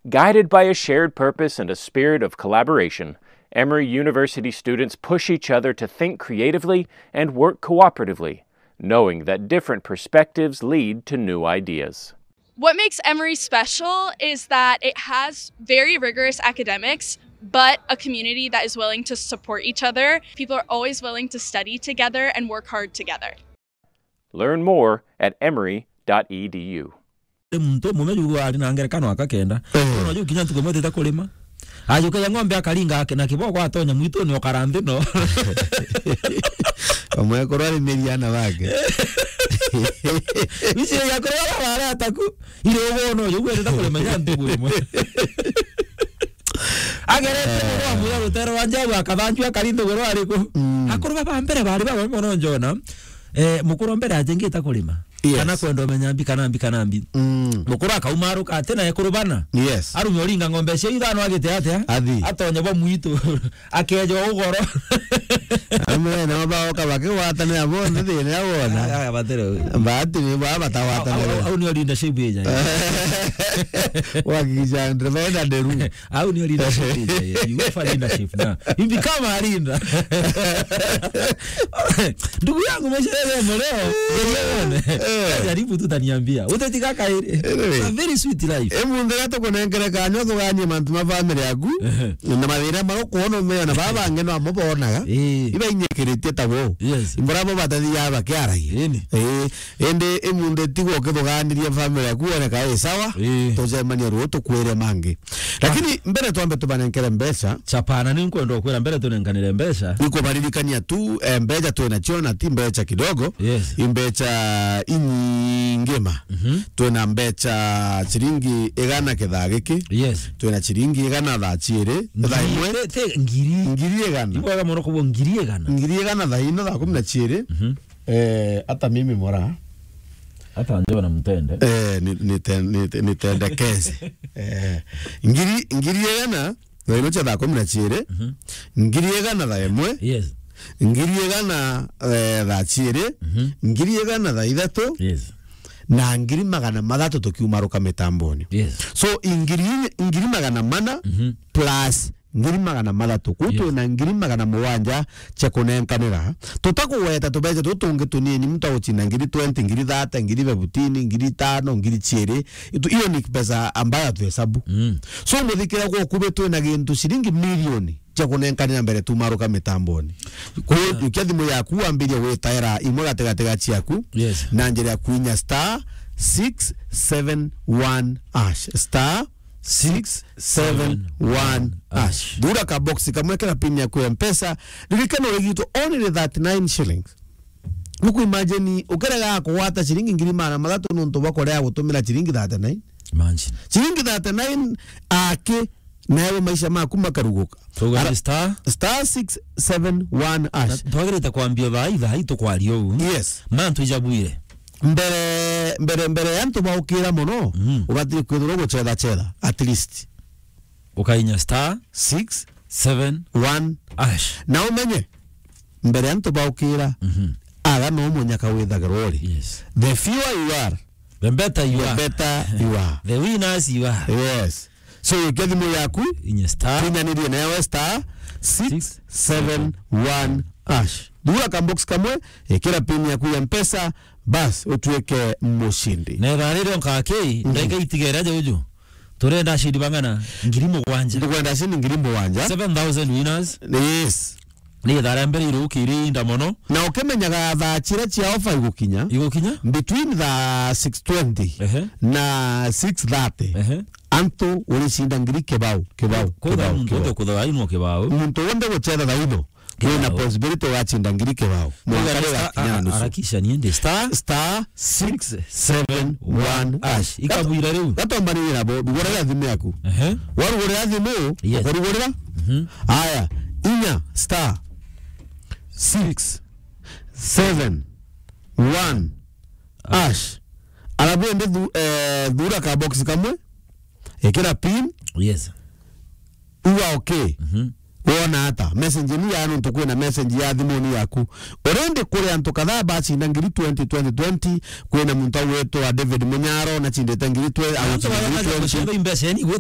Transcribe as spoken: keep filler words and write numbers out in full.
Guided by a shared purpose and a spirit of collaboration, Emory University students push each other to think creatively and work cooperatively, knowing that different perspectives lead to new ideas. What makes Emory special is that it has very rigorous academics, but a community that is willing to support each other. People are always willing to study together and work hard together. Learn more at emory dot e d u. Ri muntu umume jugu ari na ngerekano aka kenda. Eh. Ona ju kinya ntuku imwe tita kurima. Ajukagia ng'ombe akaringa ake na kiboko atonya mwituni okara nthi no. Omwekuru arimiria ana bake. Ici ya kurwa bara ataku. Ire ugo no ju gweteta kurima nya ntuku imwe. Agerete muno amwira rutere rwa njau akathanju akari nthogoro ariku. Mm. Akuru baba mbere bari baba mono njona. Eh, mukuru mbere ajengita kurima. Yes. Kana kwenda umenya mbi kana mbi kana mbi. Mm. Mukuru akaumaruka ati na ekuru bana. Yes. Arume uringa ng'ombe cia ithano agite atia? Athi. Atonye bo mwitu. Akeja ugoro. Amwe na mabao kabake watanira bonthe thina ya wona. Ah, ah, batero. Mbati ni baba batawatanira. Au, au, au ni leadership eja. Wakikisha ndrevenda nderu. Au ni leadership eja. You go for leadership now. You become a leader. Ndugu yangu, maisha yale ya leo, uone. Eh. Jaribu tu utaniambia. Utetiga kairi. Anyway. A very sweet life. E mundu ria tukunenkere kanya uthuganie mantu ma family yaku, ehe, na mathina maria ukuona umeona baba bangi no amo bonaga. Eh. Iba inyikiritie ta wo. Yes. Imbura bo batathiaga bakiaragia. Ini. Eh, indi i mundu tigwa ukithuganiria family yaku wone ka i sawa, eh, tucemanie ruu tukwire mangi. Lakini mbere twambe tubanenkere mbeca. Chapana, ni nkwenda ukwira mbere tunenkanire mbeca. Ni kubaririkania tu, eh, mbeca twina cio na ti mbeca kidogo. Yes. I mbeca inyingi ma. Mhm. Twina mbeca ciringi igana kithaa giki. Yes. Twina ciringi igana thaa ciiri, thaa imwe. Te, te, ngiri. Ngiri igana. Ibwega mono kubwo ngiri igana. Ngiri igana thaa ino thaa kumi na ciiri. Mhm. Eh, hata mimi mora. Hata njoo na mtende. Eh, ni, ni ten-, ni, ni tende keze. Eh, ngiri, ngiri igana, thaa ino cia thaa kumi na ciiri. Mhm. Ngiri igana thaa imwe. Yes. Ngiri igana, eh, thaa ciiri. Mhm. Ngiri igana thaa ithatu. Yes. Na ngiri magana mathatu tukiumaruka mitamboni. Yes. So, ngiri, ngiri magana mana, mhm, plus ngiri magana mathatu. Kuu, yes, twina ngiri magana mugwanja cia kunenkanira. Tutakugweta tubeca tutu tungi tunini, muntu agucinda ngiri twenty, ngiri thirty, ngiri fifteen, ngiri itano, ngiri ciiri. Itu-, iyo ni pesa ambayo hatuhesabu. Mm. So, muthikira gwa ukubi twina gintu ciringi milioni cia kunenkanira mbere tumaruka mitamboni. Kuu, yeah, jukia thimu yaku wambirie gwitaira imwe gatigati ga ciaku, yes, na njira ya kuinya star six seven one hash. Star six seven one hash. Thura ka box kamwe kena pin yaku ya Mpesa. Ririkana urigitwo only thirty-nine shillings. Nuku imagine, ukerega kugwata ciringi ngiri magana mathatu nontu bwa kurea gutumira ciringi thirty-nine. Imagine. Ciringi thirty-nine aki, nawe maisha maku makaruguka. Tuga ni star? Star six seven one hash. Na twagirite kwambia thaa i, thaa i tukwaria uu. Yes. Mantu ijabwire. Mbere, mbere, mbere ya antu baukira mono, mm, ubatiri kwithirwa ugucetha cetha, at least. Ukainya star six seven one hash. Na umenye, mbere ya antu baukira, mhm, aga no munyaka withagirwa uri. Yes. The fewer you are, the better you are. The better you are. The winners you are. Yes. So, ikia thimu yaku, inya star, kinyanirie nayo star six seven one hash. Thura ka box kamwe, ikira pin yaku ya Mpesa, bas, utuike mushindi. Na ithaa riria nkaki, mhm, ndagika itigere aja uju. Turenda ashindi bang'ana? Ngiri mugwanja. Tukwenda ashindi ngiri mugwanja. Seven thousand winners. Yes. Ni ithaa ria mbere irukiri inda mono. Na ukimenyaga thaa ciria cia offer igukinya, igukinya? Between thaa six twenty, ehe, na six thirty, ehe, antu uricinda ngiri kibao, kibao, kibao, kibao. Muntu wonthe ukuthagwa ainwa kibao. Muntu wonthe gucetha thaa ino. Wina possibility ugacinda ngiri kibao. Mwanka riu gakinya na nusu. Harakisha ni ndi star, star six seven one hash. Ikabwira riu. Gatombanire nabo, ndugura ya thimu yaku. Ehe. Warugurira thimu, yes, ukarugurira. Mhm. Aya, inya star six seven one hash. Alafu ende thu-, eh, thura ka box kamwe. Ekira pin. Yes. Uga okay. Mhm. Wona ata? Message ni ya nontu kwina message ya thimuni yaku. Already kuri antu kadhaa bacinda ngiri twenty, twenty twenty, kwina muntu agwitwa David Munyaro, nacindite ngiri twenty, antu agwitwa ngiri twenty. Mbeca ni gutha